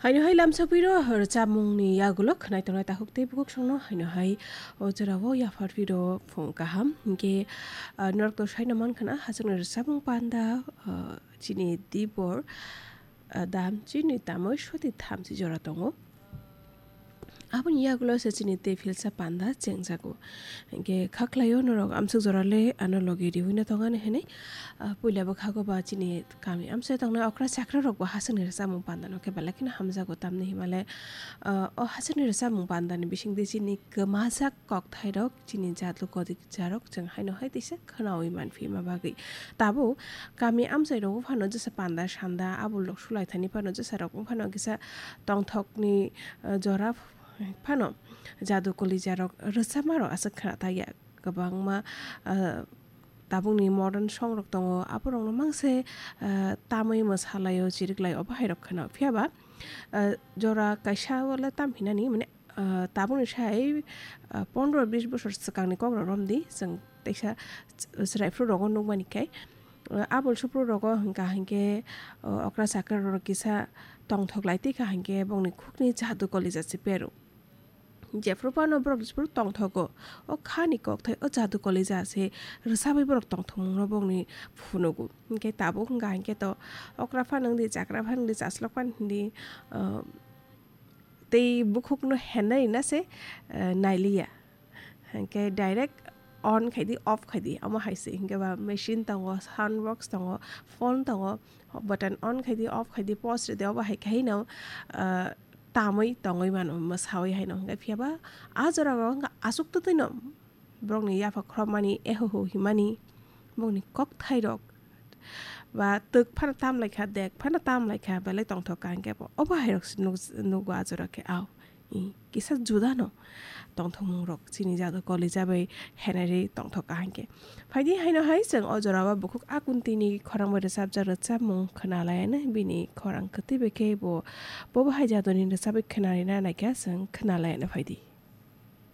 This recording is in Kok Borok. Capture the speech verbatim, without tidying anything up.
Haino hai lamsapiro rwchapmungni yagulo khwnai tongnai takhuk tei bukhuk songno haino hai o jorao yapharpiro phung kaham. Hinkhe, ah, norokto saino mankha na hachwkni rwchapmung panda, ah, chini dibor, ah, dam chini tamoi soti thamchi jora tongo. Aboni yagulo se chini tei philsa panda chengjago. Hinkhe khaklaio norok amsuk jorale ano logi riwino tongani hinwi, ah, puila bwkhago ba chini kami amsai tongnai okra chakra rokbo hachwkni rwchapmung pandano khe belai kheno hamjago, tamni himale, ah, o hachwkni rwchapmung pandani bisingtwi chini kwmajak kokthairok, chini jatlo kodijarok chwng haino hai teisa khwnaui manphi ma bagwi. Tabuk kami amchai rogo phano jesa panda sanda abul rok sulai thani phano jesa rok phano kisa tongthokni, ah, jora phano jadu kolijarok rwchapmarok aswk khna thaya. Kwbangma, ah, tabukni modern song rok tongo, aborokno mangse, ah, tamwi mwsalaio, chiriklaio, obo hai rok kheno. Phiya ba, ah, jora kaisa o le tam hinani, mane, ah, tabukni sai, ah, pondro bis bosor swkangni kok rok romdi, chwng teisa chwrai phuru rogo nukmani khe, ah, abul suphuru rogo hwnkha hinkhe, ah, okra chakra rok kisa tongthok lai tikha hinkhe bongni khukni jadu kolija se pero. Jephru phano borok jephru tongthogo, o khani kokthai o jadu kolija se rwchabwi borok tongthokmungno bongni phunugo. Hinkhe tabuk wngkha hinkhe to okra phano wngdi, chakra phano wngdi, chaslok phano wngdi, ah, tei bukhukno henai na se, ah, nailiya. Hinkhe direct on khaidi, off khaidi, omo hai se. Hinkhe ba machine tongo, sound box tongo, phone tongo, button on khaidi, off khaidi, pause ridi, obo hai khaino, ah, tamwi tongwi mano, mwsawi haino. Hinkhe phiya ba a jora o wngkha aswk twtwino borokni yapha khorokmani, ehoho himani, bongni kokthairok ba twk phano tam lai kha, dek phano tam lai kha, belai tongthok ka hinkhe bo. Obo hai rok se nuk-, nugo a jora khe, au. I, kisa juda no tongthokmung rok chini jadu kolija bai henari tongthok ka hinkhe. Phaidi haino hai chwng o jora o bukhuk a kuntini khorang bai rwchapjak rwchapmung khwna laiano, bini khorang kwtwi bai khe bo, bobo hai jaduni rwchabwi khwnarina naikha chwng khwna laiano phaidi.